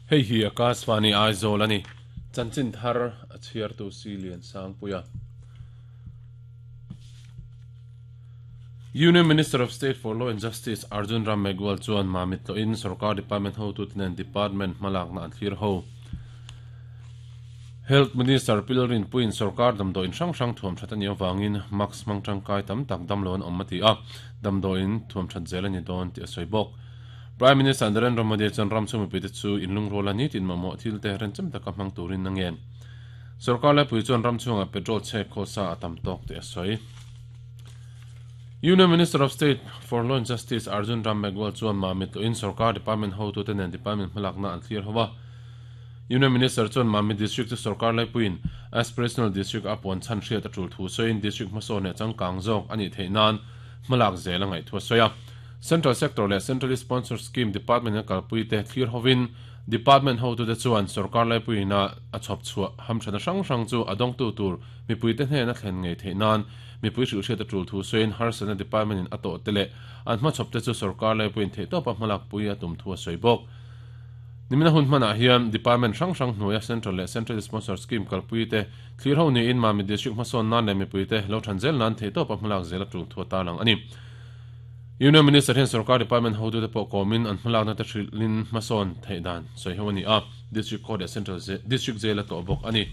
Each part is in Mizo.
Hei hi Akashvani Aizawl a ni. Chanchin thar a chhiartu si Lian Sangpuia. Union Minister of State for Law and Justice Arjun Ram Meghwal chuan Mamit tlawhin Sorkar Department hotute nen Department hmalakna an thlir ho. Health Minister Pil Rinpuiin sorkar damdawiin hrang hrang thuam that a nih avangin mask hmang tangkai tam tak damlo an awm a ti a, damdawiin thuam that zel a ni dawn tih a sawi bawk. Prime Minister Narendra Modi chuan ram chhung mipuite chu inlungruala nitin mamawh thilte renchem taka hmang turin a ngen. Sorkar laipui chuan ram chhungah petrol chhek khawlsa a tam tawk tih a sawi. Union Minister of State for Law and Justice Arjun Ram Meghwal chuan Mamit tlawhin sorkar department hotute nen department hmalakna an thlir ho a. Union Minister chuan Mamit District chu sorkar laipuiin Aspirational District a puan chhan hriat a tul thu sawiin district hmasawn leh changkang zawk a nih theih nan hmalak zel a ngaih thu a sawi a. Central Sector leh Centrally Sponsored Scheme Department-in a kalpuite thlir hovin Department hotute chuan sorkar laipuiin a a chhawp chhuah hamthana hrang hrang chu a dawngtu tur mipuite hnena thlen ngei theih nan mipui hrilhhriat a tul thu sawiin harsatna department-in a tawhte leh an hmachhawpte chu sorkar laipuiin theihtawpa hmalakpui a tum thu a sawi bawk. Nimina hun hmanah hian department hrang hrang hnuaia Central leh Centrally Sponsored Scheme kalpuite thlir ho niin Mamit District hmasawn nan leh mipuite lo than zel nan theihtawpa hmalak zel a tul thu a tarlang a ni. Union Minister hian sorkar department hotute pawh kawmin an hmalakna te hrilhin hmasawn theih dan sawi ho a ni a, District Court leh Central District Jail a tlawh bawk a ni.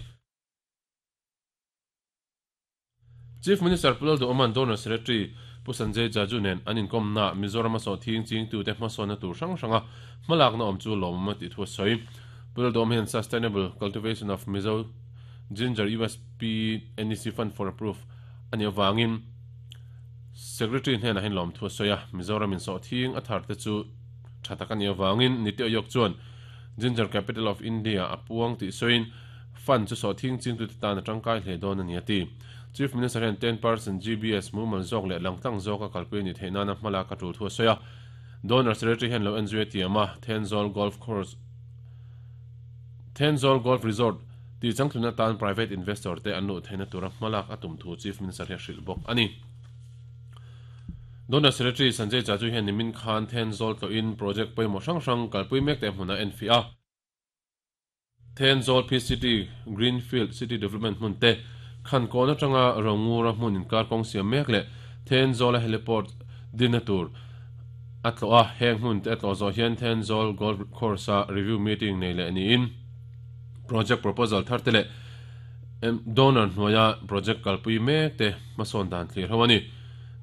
Chief Minister Pu Lalduhawma'n Donor Secretary Pu Sanjay Jaju nen an inkawmnaah Mizoram a sawhthing chingtute hmasawnna tur hrang hranga hmalakna awm chu lawmawm a tih thu a sawi. Pu Lalduhawma hian Sustainable Cultivation of Mizo Ginger USP NEC Fund for Approve a nih avangin Secretary hnenah hian lawmthu a sawi a, Mizoram in sawhthing a thar te chu tha tak a nih avangin Niti Aayog chuan Ginger Capital of India a puang tih sawiin Fund chu sawhthing chingtute tan a tangkai hle dawn a ni a ti. Chief Minister hian 10% GBS mumal zawk leh langtlang zawka kalpui a nih theih nana hmalak a tul thu a sawi a. Donor Secretary hian lo enzui a tiam a, Thenzawl Golf Course Thenzawl Golf Resort tih changtlun atan private investor te an luh theihna tura hmalak a tum thu Chief Minister hi a hrilh bawk a ni. Donor Secretary Sanjay Jaju hian nimin khan Thenzawl tlawhin project pawimawh hrang hrang kalpui mek te hmunah a enfiah a. Thenzawl PCT Greenfield City Development hmun te, Khankawn atanga Rongura hmun inkar kawng siam mek leh Thenzawla Heliport dinna tur a tlawh a, heng hmun te a tlawh zawh hian Thenzawl Golf Course-a review meeting nei leh niin project proposal thar te leh donor hnuaia project kalpui mek te hmasawn dan thlir ho a ni.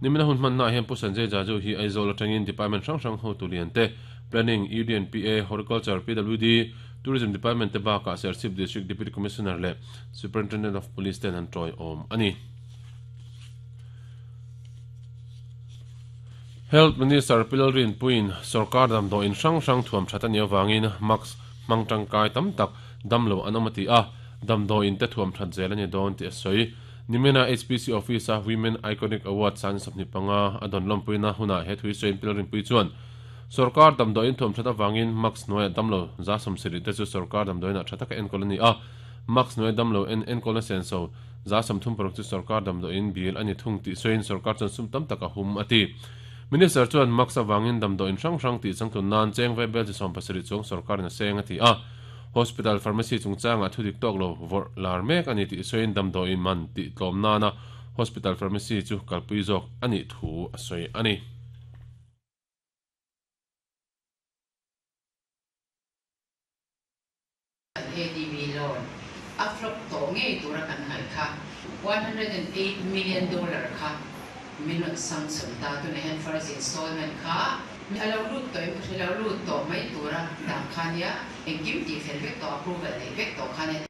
Nimina hun hmannaah hian Pu Sanjay Jaju hi Aizawl atangin department hrang hrang hotu lian te, Planning, UDNPA, Horticulture, PWD, Tourism Department te bakah Serchhip District Deputy Commissioner leh Superintendent of Police ten an tawiawm a ni. Health Minister Pi Lalrinpuiin sorkar damdawiin hrang hrang thuam that a nih avangin mask hmang tangkai tam tak damlo an awm a ti a, damdawiin te thuam that zel a ni dawn tih a sawi. Nimina HPC Office-a Women Iconic Award 25 a dawn lawmpuina hunah he thui sawiin Pi Lalrinpui chuan Sorkar damdawiin thuam that avangin Max hnuaia damlo 70 te chu sorkar damdawiinah tha taka enkawl a ni a, Max hnuaia damlo en enkawlna senso 36 chu sorkar damdawiin bil a ni thung tih sawiin sorkar chuan sum tam tak a hum a ti. Minister chuan Max avangin damdawiin hrang hrang tih changtlun nan cheng ve bel chi 70 chuang sorkarin a seng a ti a, Hospital pharmacy chungchangah thudik tawk lo vawrh lar mek a ni tih sawiin damdawiin man tih tlawm nana hospital pharmacy chu kalpui zawk a nih thu a sawi a ni. ADB loan a flop tawh ngei tura kan ngaih kha $108 million kha min rawn sanction ta. Tunah hian first installment kha a lo lut tawh em ka hre lo, lut tawh mai tura dah kha nia, engkim tih fel vek tawh, approval neih vek tawh kha nia.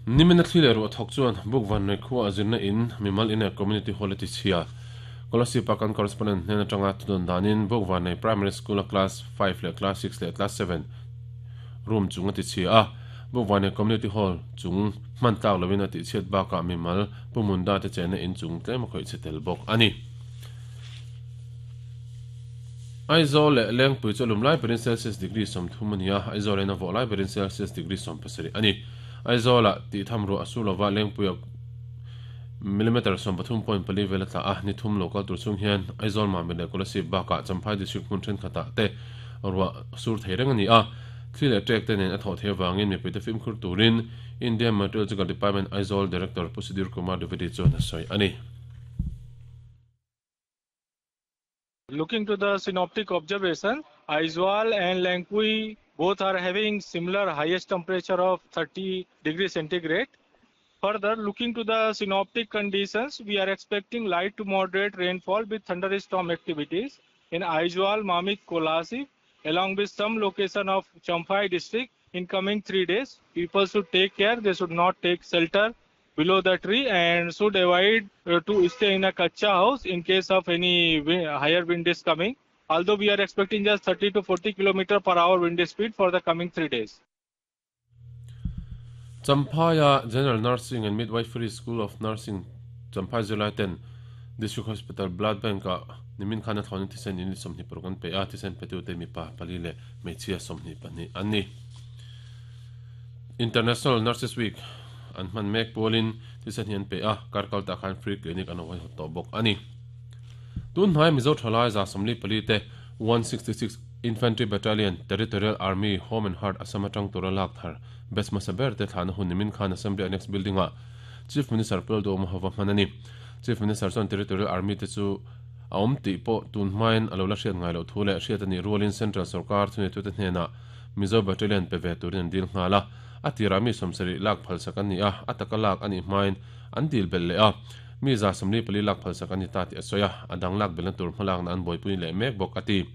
Nimina thli leh ruah thawk chuan Bukvanlei khua a zirna in mimal in leh Community Hall a ti chhia. Kolasib ah kan correspondent hnen atanga thudawn danin Bukvanlei Primary School a Class 5 leh Class 6 leh Class 7 room chung a ti chhia a. Bukvanlei Community Hall chung hman tlak lovin a tihchhiat bakah mimal Pu Munda te chenna in chung tlem a khawih chhe tel bawk a ni. Aizawl leh Lengpui chu a lum lai berin Celsius degree 30 a ni a, Aizawl in a vawh lai berin Celsius degree 17 a ni. Aizawlah tih tham ruah a sur lova, Lengpuia millimeter 13.4 vel a tla a, ni thum lo kal tur chung hian Aizawl Mamit leh Kolasib bakah Champhai District hmun thenkhatah te Ruah sur thei reng a ni a, thli leh ṭek te nen a thawh theih avangin mipuite fimkhur turin Indian Meteorological Department Aizawl Director Pu Sudhir Kumar Dwivedi chuan a sawi a ni. Looking to the synoptic observation, Aizawl and Lengpui both are having similar highest temperature of 30 degree centigrade. Further, looking to the synoptic conditions, we are expecting light to moderate rainfall with thunderstorm activities in Aizawl, Mamit, Kolasib, along with some location of Champhai district in coming 3 days. People should take care. They should not take shelter below the tree and should avoid to stay in a kacha house in case of any higher wind is coming. Although we are expecting just 30 to 40 kilometer per hour wind speed for the coming 3 days. Champhaia General Nursing and Midwifery School of Nursing Champhai zirlaiten District Hospital Blood Bank-ah nimin khan a thlawnin thisen unit 26 an pe a, thisen petute mipa pali leh hmeichhia 22 an ni. International Nurses Week an hman mek pualin thisen hi an pe a, kar kal tah khan free clinic an awhaihawt tawh bawk a ni. Tun hnai Mizo thalai 44 te 166 Infantry Battalion, Territorial Army, Home and Heart Assam atang tura lak thar batch hmasa ber te thlahna hun nimin khan Assembly Annex Building ah Chief Minister Pu Lalduhoma hova hman a ni. Chief Minister chuan Territorial Army te chu a awm tih pawh tun hmain a lo la hriat ngai loh thu leh hriat a nih rualin Central sorkar thuneitute hnenah Mizo Battalion pe ve turin an dil nghal a. A tirah mi 70 lak phalsak an ni a, a taka lak a nih hmain an dil belh leh a. Mi 44 lak phalsak an ni ta tih a sawi a, a dang lak belhna tur hmalakna an buaipui leh mek bawk a ti.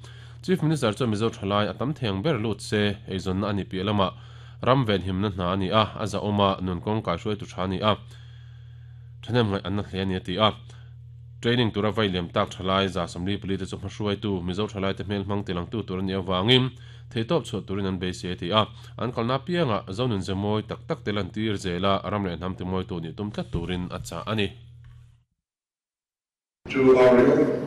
Chief Minister chuan Mizo thalai a tam thei ang ber lut se, eizawnna a ni piah lamah ram venhimna hna a ni a, a zahawm a, nun kawng kaihruaitu tha a ni a, thahnem ngaih an na hle a ni a ti a. Training tura vai liam tak thalai 44 te chu hmahruaitu Mizo thalaite hmel hmang tilangtu tur a nih avangin theihtawp chhuah turin an beisei a ti a, an kalna apiangah Zonun ze mawi tak tak te lantir zela ram leh hnam timawitu nih tum tlat turin a chah a ni. To our young.